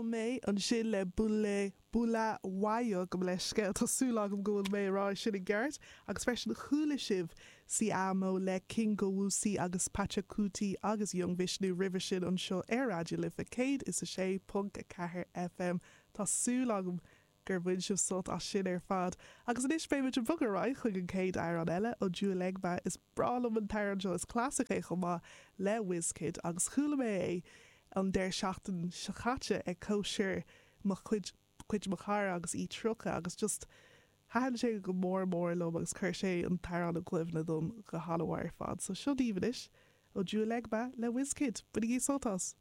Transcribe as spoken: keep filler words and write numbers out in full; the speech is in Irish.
Mé ansin le Bule Bulawayo gabh mo leithscéal tá súil agam go bhfuil mé ag rá sin i gceart agus freisin chuala sibh Siamo le Kingowusi agus Pachakuti agus Young Vishnu roimhe sin anseo ar Raidió Life céad is a sé ponc a ceathair FM Tá súil agam gur bhain sibh sult as sin ar fad. Agus anois beimid ag bogadh ar aghaidh chuig an chéad amhrán eile Ojuelegba is breá liom an t-amhrán seo is clasaic é chomh maith le Wizkid agus chuala mé é an deireadh seachtain seo caite ag cóisir mo chuid cuid mo chara agus í tríocha agus just thaitin sé go mór mór liom agus chuir sé an t-amhrán i gcuimhne dom go han-mhaith ar fad, so seo daoibh anois Ojuelegba le Wizkid, bainigí sult as.